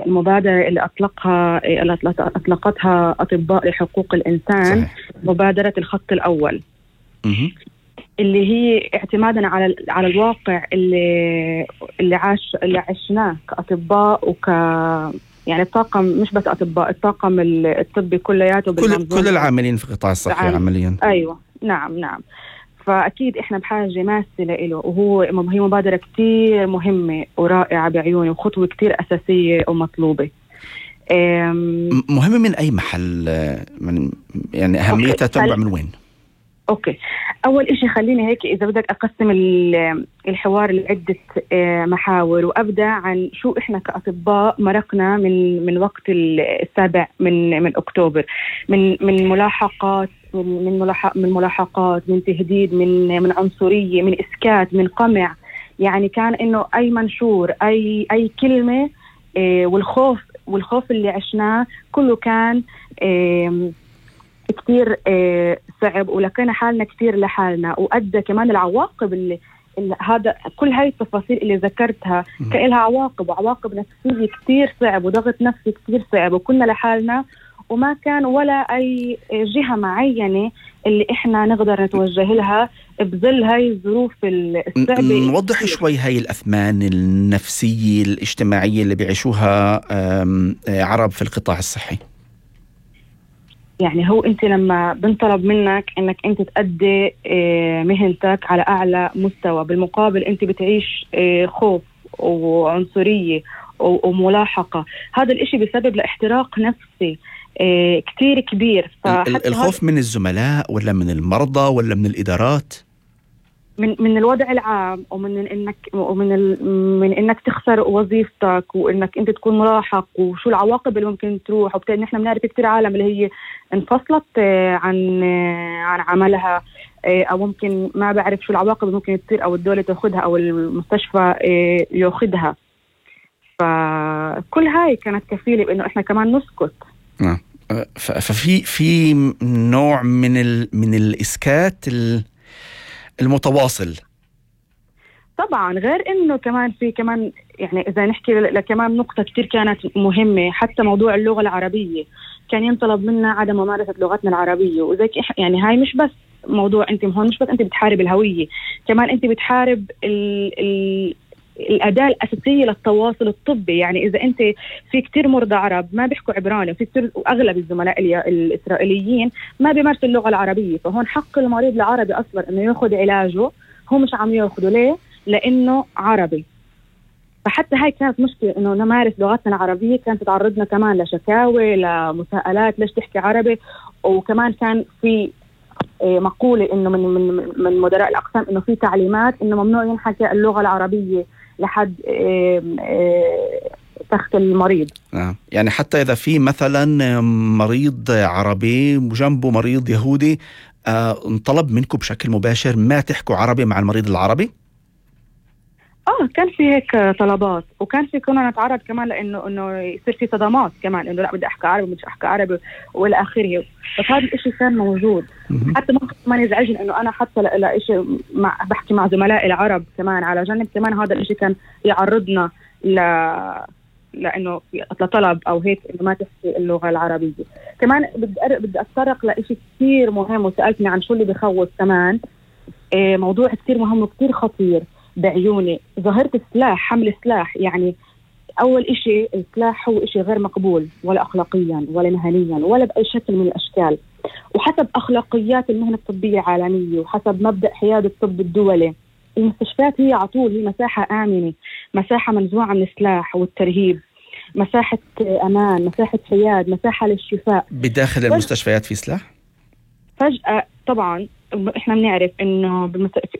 المبادرة اللي أطلقتها أطباء لحقوق الإنسان. صحيح. مبادرة الخط الأول اللي هي اعتمادا على الواقع اللي عشناه كأطباء يعني الطاقم، مش بس أطباء، الطاقم الطبي كلياته كل العاملين في القطاع الصحي عمليا. أيوة، نعم. فأكيد إحنا بحاجة ماسة له، هي مبادرة كتير مهمة ورائعة بعيوني، وخطوة كتير أساسية ومطلوبة. مهمة من أي محل؟ يعني أهميتها تنبع من وين؟ أوكي، أول إشي خليني هيك إذا بدك أقسم الحوار لعدة محاور، وأبدأ عن شو إحنا كأطباء مرقنا من وقت 7 من أكتوبر، من ملاحقات، من تهديد، من عنصرية، من إسكات، من قمع. يعني كان إنه أي منشور، أي كلمة، والخوف اللي عشناه كله كان كتير صعب، ولقينا حالنا كتير لحالنا، وأدى كمان العواقب اللي هذا كل هاي التفاصيل اللي ذكرتها كإلها عواقب نفسية كتير صعب، وضغط نفسي كتير صعب، وكنا لحالنا، وما كان ولا أي جهة معينة اللي إحنا نقدر نتوجه لها بظل هاي الظروف الصعبة. نوضح شوي هاي الأثمان النفسية الاجتماعية اللي بيعيشوها عرب في القطاع الصحي. يعني هو أنت لما بنطلب منك أنك أنت تأدي مهنتك على أعلى مستوى، بالمقابل أنت بتعيش خوف وعنصرية وملاحقة، هذا الإشي بسبب لاحتراق نفسي كتير كبير. الخوف من الزملاء ولا من المرضى ولا من الإدارات؟ من الوضع العام، من انك تخسر وظيفتك، وانك انت تكون ملاحق، وشو العواقب اللي ممكن تروح. وبالتالي نحن بنعرف كتير عالم اللي هي انفصلت عن عملها، او ممكن ما بعرف شو العواقب اللي ممكن تصير، او الدولة تاخدها او المستشفى ياخدها. فكل هاي كانت كفيلة بانه احنا كمان نسكت. ففي نوع من الإسكات المتواصل. طبعا، غير انه في كمان يعني اذا نحكي كمان نقطة كتير كانت مهمة، حتى موضوع اللغة العربية كان ينطلب منا عدم ممارسة لغتنا العربية. وزي يعني هاي مش بس موضوع، انت هون مش بس انت بتحارب الهوية، كمان انت بتحارب الأداة الأساسية للتواصل الطبي. يعني إذا أنت في كتير مرضى عرب ما بيحكوا عبراني، وفي كتير، وأغلب الزملاء الإسرائيليين ما بيمارسوا اللغة العربية، فهون حق المريض العربي أصلا إنه يأخذ علاجه، هو مش عم يأخذه. ليه؟ لأنه عربي. فحتى هاي كانت مشكلة، إنه نمارس لغتنا العربية كانت تتعرضنا كمان لشكاوي، لمساءلات، ليش تحكي عربي. وكمان كان في مقولة إنه من مدراء الأقسام إنه في تعليمات إنه ممنوع ينحكى اللغة العربية لحد تخت المريض. يعني حتى إذا في مثلا مريض عربي وجنبه مريض يهودي، انطلب منكم بشكل مباشر ما تحكوا عربي مع المريض العربي؟ كان في هيك طلبات، وكان في كنا نتعرض كمان لانه يصير في صدمات كمان، انه لا بدي احكي عربي، مش احكي عربي والى اخره. بس هذا الاشي كان موجود. حتى ممكن ما يزعجني انه انا حتى لإشي بحكي مع زملائي العرب كمان على جنب، كمان هذا الاشي كان يعرضنا لانه لطلب او هيك انه ما تحكي اللغه العربيه. كمان بدي اتطرق لإشي كثير مهم، وسالتني عن شو اللي بخوف كمان. موضوع كثير مهم وكثير خطير بعيوني، ظاهرة السلاح، حمل السلاح. يعني أول إشي السلاح هو إشي غير مقبول، ولا أخلاقيا ولا مهنيا ولا بأي شكل من الأشكال، وحسب أخلاقيات المهنة الطبية العالمية، وحسب مبدأ حياد الطب الدولي. المستشفيات هي عطول، هي مساحة آمنة، مساحة منزوعة من السلاح والترهيب، مساحة أمان، مساحة حياد، مساحة للشفاء. بداخل المستشفيات في سلاح؟ فجأة طبعا احنا بنعرف انه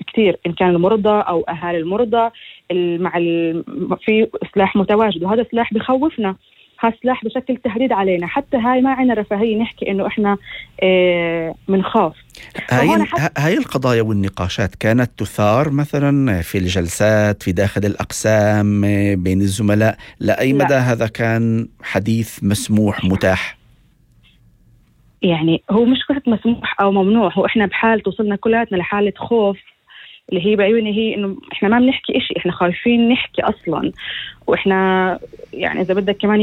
كثير ان كان المرضى او اهالي المرضى في سلاح متواجد، وهذا سلاح بخوفنا، هذا سلاح بشكل تهديد علينا. حتى هاي ما عنا رفاهية نحكي انه احنا منخاف. هاي القضايا والنقاشات كانت تثار مثلا في الجلسات في داخل الأقسام بين الزملاء؟ لأي مدى هذا كان حديث مسموح متاح؟ يعني هو مش قصة مسموح أو ممنوع، هو إحنا بحال توصلنا كلاتنا لحالة خوف، اللي هي بعيوني هي إنه إحنا ما بنحكي إشي، إحنا خايفين نحكي أصلاً. وإحنا يعني إذا بدك كمان